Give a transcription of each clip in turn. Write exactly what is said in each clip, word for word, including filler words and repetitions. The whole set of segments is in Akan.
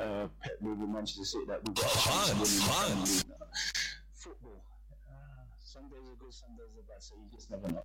uh, Pep with Manchester City that we've got a chance of winning the Premier League now. Football, uh, some days are good, some days are bad, so you just never know.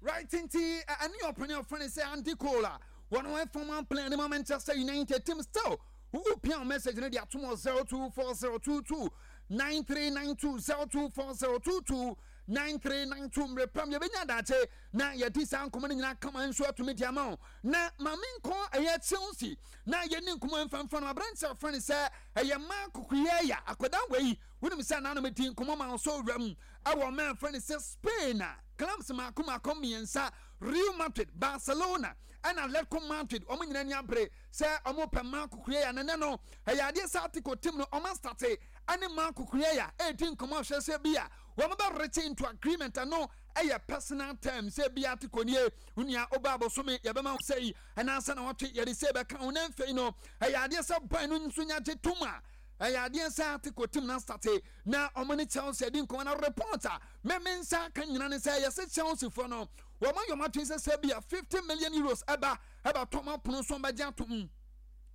Right, nti ɛne ɔpɛne ɔfrɛ no sɛ Andy Cole a wɔn wɔn former player ne ma Manchester United team. Still wopia wo message no de atom wɔ zero two four zero two two nine three nine two, zero two four zero two two nine three nine two. Mmerɛ pam yɛbɛnya adakye na yɛde saa nkɔmmɔ no nyinaa kama nso atumi de ama wo. Na maame nkɔ ɛyɛ Chelsea na yɛni nkɔmmɔ mfamfa no. Aberante a ɔfrɛ no sɛ ɛyɛ Marc Cucurella, akwadaa wei, wonim sɛ nanom di nkɔmmɔ ma wo so wura mu ɛwɔ ɔman frɛ no sɛ Spain a clubs mako mako mmiɛnsa, Real Madrid, Barcelona ɛna Atletico Madrid, wɔn nyinaa ni abere sɛ wɔn pɛ Marc Cucurella. Nene no ɛyɛ adeɛ sɛ Atletico team no wɔn astart ɛne Marc Cucurella ɛredi nkɔmmɔ ahwɛ sɛ bi a wɔn bɛ reach into agreement. Ɛno ɛyɛ personal terms sɛ bi Atletico nie nua ɔba abosome yɛbɛma sɛ yi ɛnaasɛ na wɔtwe yɛde sɛ bɛka ho. Na mfei no ɛyɛ adeɛ sɛ ban no nso nya gye tom a ɛyɛ adeɛ sɛ Atletico team na start na ɔmo ne Chelsea di nkɔmɔ. Na report a mɛmɛ nsa ka nyina ne sɛ yɛsɛ Chelsea foɔ no wɔn ayɔ ɔmo atwe sɛ sɛ bi a fifty million euros ɛba ɛba tɔm apono so, ɔmo atom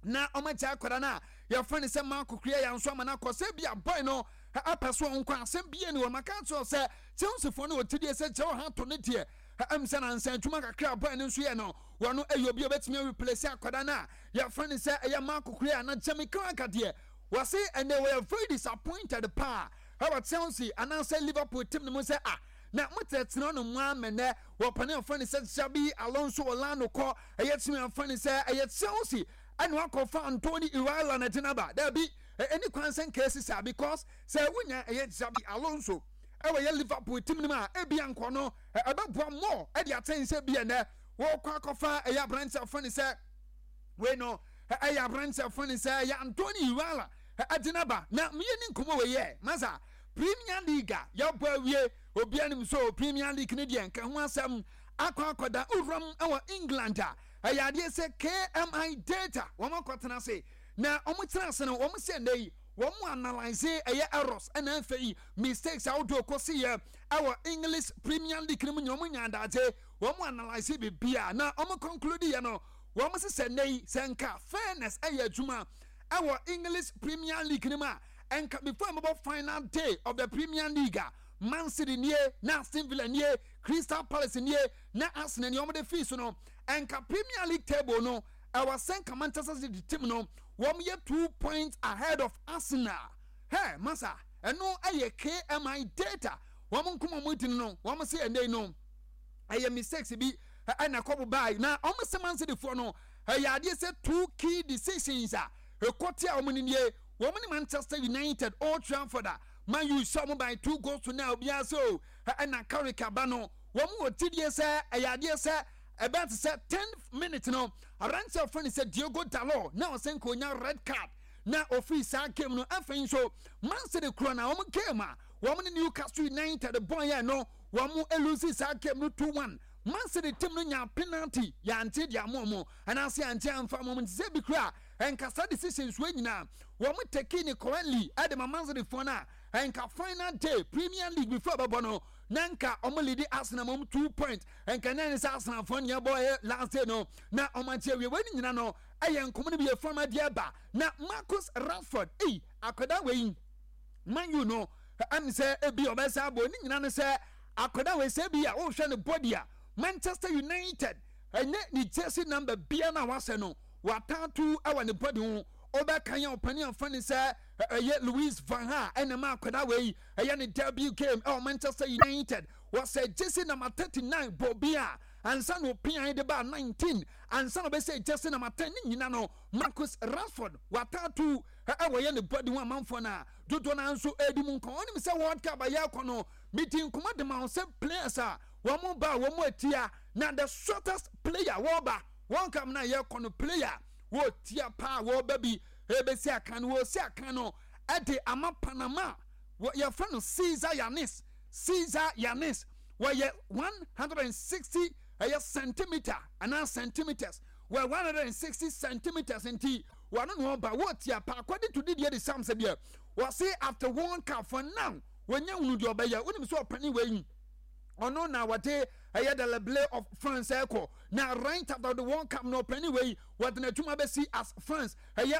na ɔmo agya akwadaa no a yɛfrɛ no sɛ Marc Cucurella nso ama no akɔ sɛ bi a boy no apɛ so ɔnkɔ asɛm bie ni. Wɔn aka kyerɛ sɛ Chelsea foɔ no wɔ tidie sɛ kyerɛ ɔha to ne deɛ ɛm sɛ nansa adwuma kakra boy no nso yɛ no, wɔn ɛyɛ obi a obɛtumi areplace akwadaa no a yɛfrɛ no sɛ ɛyɛ Marc Cucurella. Na Jamie Carragher deɛ, wɔse ɛnɛ wɔyɛ very disappointed paa ɛwɔ Chelsea anaasɛ Liverpool team no mu sɛ ah, na motɛtena no mu amɛnɛ wɔpane ɔfa ne sɛ Xabi Alonso Orlando kɔ ɛyɛ tumi afa ne sɛ ɛyɛ Chelsea ɛna wakɔfa Andoni Iraola na gyina ba. Daabi, ɛni kwan sɛ nka saa, because sɛ wonya ɛyɛ Xabi Alonso ɛwɔ yɛ Liverpool team no mu a, ebi ankɔ no ɛbɛboa more ɛde atɛn sɛ bi ɛnɛ wɔkɔ akɔfa ɛyɛ aberante afa ne sɛ wei no ɛyɛ aberante afa ne sɛ ɛyɛ Andoni Iraola ɛde naba. Na meyɛ ne nkɔmmɔ wɔ yɛ masa Premier League a yɛbɔ awie, obiara nim so Premier League ne deɛ nka ho asɛm akɔ akɔda owuram ɛwɔ England a ɛyɛ adeɛ sɛ K M I Data wɔn akɔtena ase na wɔn tena ase no, wɔn sɛ nnɛ yi wɔn analyse ɛyɛ errors ɛna afei mistakes ahodoɔ kɔsi yɛ ɛwɔ English Premier League no mu nyina. Wɔn nya adagye wɔn analyse bibia na wɔn conclude yɛ no, wɔn sɛ nnɛ yi sɛ nka fairness ɛyɛ adwuma ɛwɔ English Premier League no mu a, ɛnka before ɛmɛbɔ final day of the Premier League a, Man City nie na Aston Villa nie, Crystal Palace nie na Arsenal nie, wɔn de fii so no, ɛnka Premier League table no ɛwɔ sɛ nka Manchester City team no wɔn yɛ two points ahead of Arsenal. Hɛ masa, ɛno ɛyɛ K M I Data wɔn nkɔmɔ wɔn ti no. Wɔn sɛ ɛnɛ no ɛyɛ mistakes bi ɛna kɔbɔ baa na wɔn sɛ Man City foɔ no ɛyɛ adeɛ sɛ two key decisions a ɛkɔte a wɔn nie, wɔn ne Manchester United, Old Trafford a Man U sɛ wɔn by two goals to nil. Obiara sɛ o ɛna Carrick aba no, wɔn wɔ tidie sɛ ɛyɛ adeɛ sɛ ɛbɛn te sɛ ten minute no, aberanteɛ a wɔfrɛ no sɛ Diogo Dalot na ɔsɛ nka onya red card na ofiri saa game no. Afei nso Man City kuro na wɔn game a wɔn ne Newcastle United bɔn yɛ no, wɔn elose saa game no two one. Man City team no nya penalty yante de ama wɔn anaasɛ yante amfa wɔn. Nti sɛ bi kura nkasa decisions wɔ nyinaa wɔn take ne correctly ɛde ma Man City foɔ no a, nka final day Premier League before bɛbɔ no na nka wɔn lead Arsenal mom two point, nka nan ne sɛ Arsenal foɔ nea bɔ ɛyɛ last day no na wɔn akyi awie. Wɔn nyinaa no ɛyɛ nkɔmɔ no bi yɛ fam adeɛ ba. Na Marcus Rashford eyi akwadaa wei, Man U no ɛm sɛ ebi ɔbɛsa abɔ ne nyinaa no sɛ akwadaa wei sɛ ebi a ɔrehwɛ ne body a Manchester United ɛnyɛ ne jersey number bia na wasɛ no wataatu ɛwɔ ne body ho. Ɔbɛka yɛn ɔpanin afa ne sɛ ɛyɛ Louis van Gaal ɛna ma akwadaa wei ɛyɛ ne debut game ɛwɔ Manchester United, wɔsɛ jersey number thirty nine bɔ bi a ansa na opian de ba nineteen ansa na ɔbɛsɛ jersey number ten. Ne nyina no Marcus Rashford wataatu ɛwɔ yɛ ne body ho. Amanfoɔ no a dodoɔ no nso ɛredi mu nkɔn ɔnim sɛ World Cup ayɛ akɔ no meti nkɔmɔ de ma wɔn sɛ players a wɔn ba a wɔn atia na the shortest player wɔreba World Cup na yɛkɔ no, player wɔtia paa wɔreba bi ebesi akan no, wɔsi akan no ɛde ama Panama, yɛfrɛ no Cesar Yanis. Cesar Yanis wɔyɛ one hundred and sixty ɛyɛ centimeter anaa centimeters, wɔ one hundred and sixty centimeters. Nti wɔn no ɔba wɔtia paa. According to Didier Deschamps deɛ, wɔsi after World Cup, for now wɔnyɛ hunu deɛ ɔbɛyɛ. Wɔnim sɛ ɔpanin wɔ yi ɔno na wɔde ɛyɛ the leble of France ɛkɔ na right after the World Cup no, ɔpanin wɔ yi wɔde n'adwuma bɛsi as France ɛyɛ.